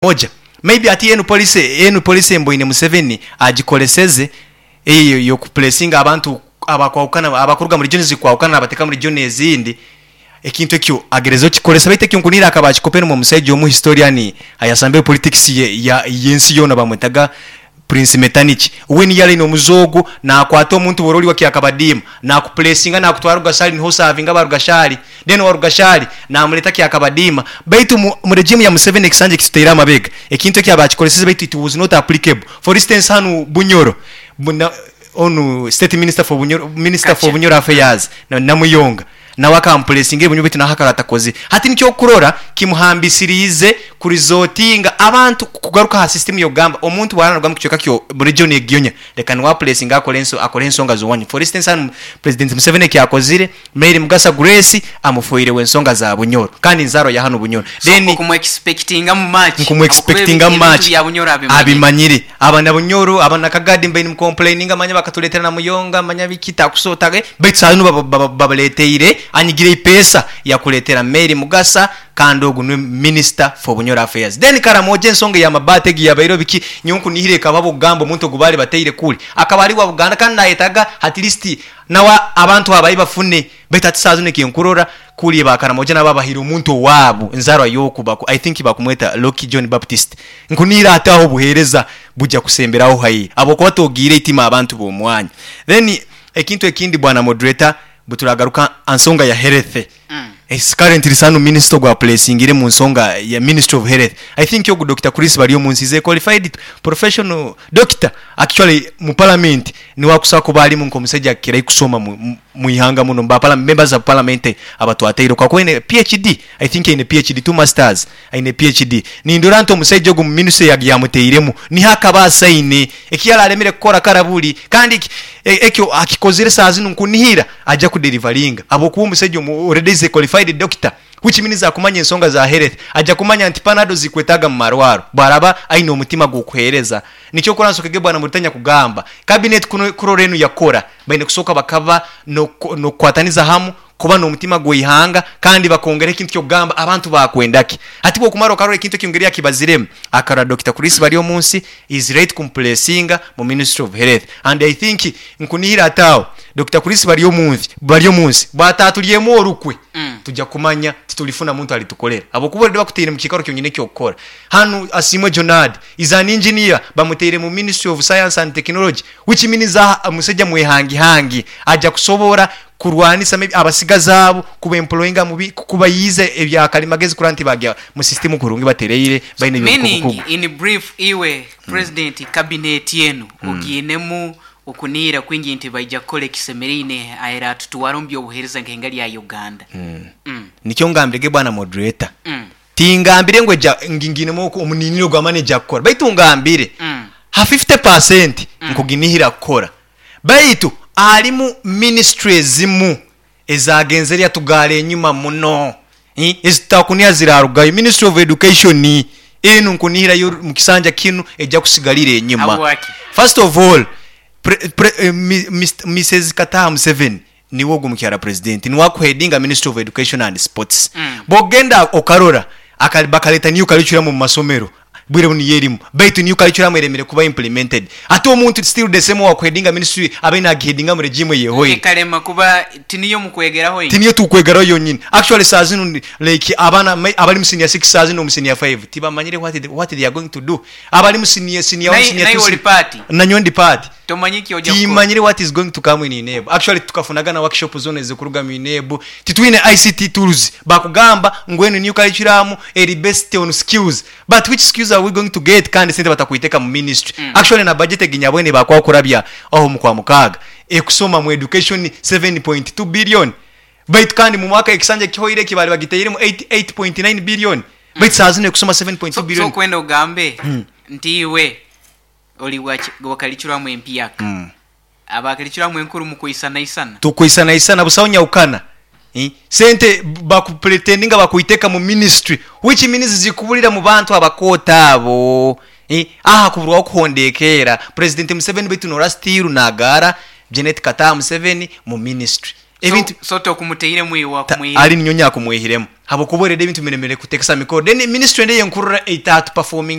Moja maybe ati enu policy enu policy mboine Museveni agikoleseze eyo yoku placinga abantu abakwahukana abakuruga mu regions ezikwahukana nabateka mu region ezindi ekintu ekyo agerezeho okikolesa baitu ekyo nkunihira akaba akikopere omu musaija omu historian ayasambire politics ye yensi yoona bamwetaga Prince Metternich we niyo ali nomuze ogwo nakwata omuntu bwora oli wa Kyakabadiima nakupulesinga nakutwara Rugashali niho osavinga aba Rugashali then owa Rugashali namuleta Kyakabadiima baitu mu regime ya Museveni ekisanja ekitutaire amabega ekintu ekyo abakikoleseze baitu it was not applicable for instance hanu Bunyoro onu state minister for Bunyoro minister for Bunyoro affairs Namuyonga Nawe akampuresinga ebinywa baitu naho akaba atakozire. Hati nikyo okurora kimuhambisiriize kurizotinga abantu kugaruka aha system yokugamba omuntu bwaba naruga mukicweka kyo mu region egyonya reka niwe apuresinge akore akore ensonga zowanyu. For instance hanu President Museveni ekyakozire Mary Mugasa Grace amufoire wensonga za Bunyoro kandi nzarwa ya hanu Bunyoro. So Then okumuexpectingamu much habwokuba nkumuexpectingamu ebintu much bya Bunyoro abimanyire. abimanyire. Abanabunyoro, abanakagadi mbaire nimukomplaininga manya bakatuletera Namuyonga manya biki takuso ta baitu saha zinu babareteire anyigire eipeesa yakuretera Mary Mugasa kandi ogu niwe minister for Bunyoro affairs. Then Karamoja ensonga eya mabaati egi yabaireho biki nyowe nkunihira ekaba habwokugamba omuntu ogu baali bateire kuri akaba ari wa Buganda kandi nayetaga at least nawe abantu abaye bafune baitu hati saha zinu ekinkurora kuri ba Karamoja nabo babahaire omuntu owaabo enzarwa yoku I think bakumweta Loki John Baptist nkunihira hati aho obuhereza buja kusemberaho haihi habwokuba togiire eitima abantu bomwanya. Then ekintu ekindi bwana moderator bweturagaruka ansonga ya health It's currently sanu minister ogwa placingire mu nsonga ya ministry of health I think ogu Dokita Chris Baryomunsi is a qualified professional doctor actually mu parliament niwe akusobola kuba arimu nkomusaija akukirayo kusoma mwihanga muno mu members of parliament abatwataireho kakuba aine PHD I think aine PHD two masters aine PHD nindora nti omusaija ogu mu ministry yamutairemu niho akabaasa aine eki yararemire kukora karaburi kandi ekyo akikozire saaha zinu nkunihira aja kuderivaringa ahabwokuba omusaija already is a qualified doctor which means akumanya ensonga za health aja kumanya nti panado zikwetaaga mumarwaro bwaraba aine omutima gwokuhereza nikyo okora nsokege bwana Muritanya kugamba cabinet kurora enu yakora baine kusooka bakaba nokukwataniza hamu kuba nomutima gweihanga kandi bakongeraho ekintu kyokugamba abantu bakwendaki hati bwokumara okarora ekintu ekyo engeri yakibaziremu akarora Dokita Chris Baryomunsi is right kumupulesinga mu ministry of health and I think nkunihira hati aho Dokita Chris Baryomunsi bwataturyemu orukwe tuja kumanya titulifuna muntu alitukorera habwokuba already bakutaire mukikaro kyonyini ekyokukora hanu Asiimwe Jonard is an engineer bamutaire mu ministry of science and technology which means musaija mwehangihangi aja kusobora kurwanisa maybe abasigazi abo kuba employinga mu bi kubayiiza ebya kalimagezi kurora nti bagya mu system kurungi batereire baine Meaning eby'obukugu. in brief iwe president cabinet enu ogiinemu okuniira kwingi nti baija kukora ekisemereine aeratutwara omu by'obuheereza nk'enga lya Uganda. Nikyo ngambire ge bwana moderator. Tingambire ngu eja ngi ngiinemu omuniiniro gw'amaani eja kukora baitu ngambire ha 50% nkuginihira kukora. Baitu harimu minisitule ezimu ezagenzere yatugaara enyima muno ezitutakuniha zirarugayo. Ministry of Education enu nkunihira yo mu kisanja kinu eja kusigalira enyima. Habwaki? First of all, Mister Kataha Museveni niwe ogu mukyara President niwe akuhedinga Ministry of Education and Sports. Bwogenda okarora bakareta new curriculum omu masomero Bwire bunu niyo erimu baitu new curriculum eremire kuba implemented. Ate omuntu still the same owakuhedinga ministry abaire nagihedinga mu regime eyehoire. Ekarema kuba tiniyo mukwegeraho inywe. Tiniyo tukwegeraho yonyini. Actually saaha zinu like abaana abari mu senior six saaha zinu omu senior five tibamanyire what they are going to do. Abari mu senior senior one senior Naiwe two ori part? Nanyowe ndi part. Tomanyi ki oja kukora? Timanyire what is going to come in UNEB. Actually tukafunaga na workshop zona ezikuruga mu UNEB. Titwine ICT tools. Bakugamba ngu enu new curriculum eri based on skills. But which skills are we going to get kandi sente batakwiteka mu ministry. Actually na budget egi nyabwene bakwaho kurabya aho mu kwamukaaga ekusoma mu education 7.2 billion baitu kandi mu mwaka ekisanja ekihoire eki bari bagiteiremu 8.9 billion baitu saha zinu ekusoma 7.2 So billion. okwenda ogambe nti iwe ori wa curriculum empyaka, aba curriculum enkuru mukwisanaisana? Tukwisanaisana busaho nyahukana. Sente bakupretendinga bakwiteka mu ministry which means zikuburira mu bantu abakooto abo. Aha kuburwaho kuhondekeera President Museveni baitu norora still nagaara Janet Kataha Museveni mu ministry. Ebintu So tokumuteiremu iwe, wakumwihiremu? Ali ninyowe nyakumwihiremu, habwokuba already ebintu biremere kutekesa mikoro. Then ministry endi eyenkurora etatu performing.